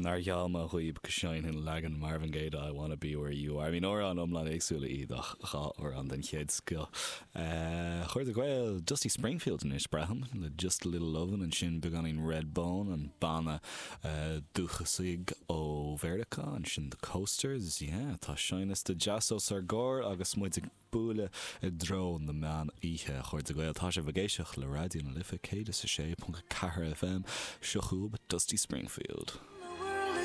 Nár gheall mé dhaoib go seinnfinn leagan Marvin Gaye de I Wanna Be Where You Are. I mean, amhrán iomlán éagsúla iad ach dhá amhrán den chéad scoth. A chairde Gael, Dusty Springfield anois, braithim, le Just a Little Lovin' ansin beagáinín Redbone, an banna dúchasaigh ó Mheiriceá, ansin The Coasters, yeah, tá seinnliosta deas os ár gcomhair agus muid ag bualadh i dtreo na meán oíche. A chairde Gael, tá sibh ag éisteacht le Raidió na Life 106.4 FM, seo chugaibh Dusty Springfield.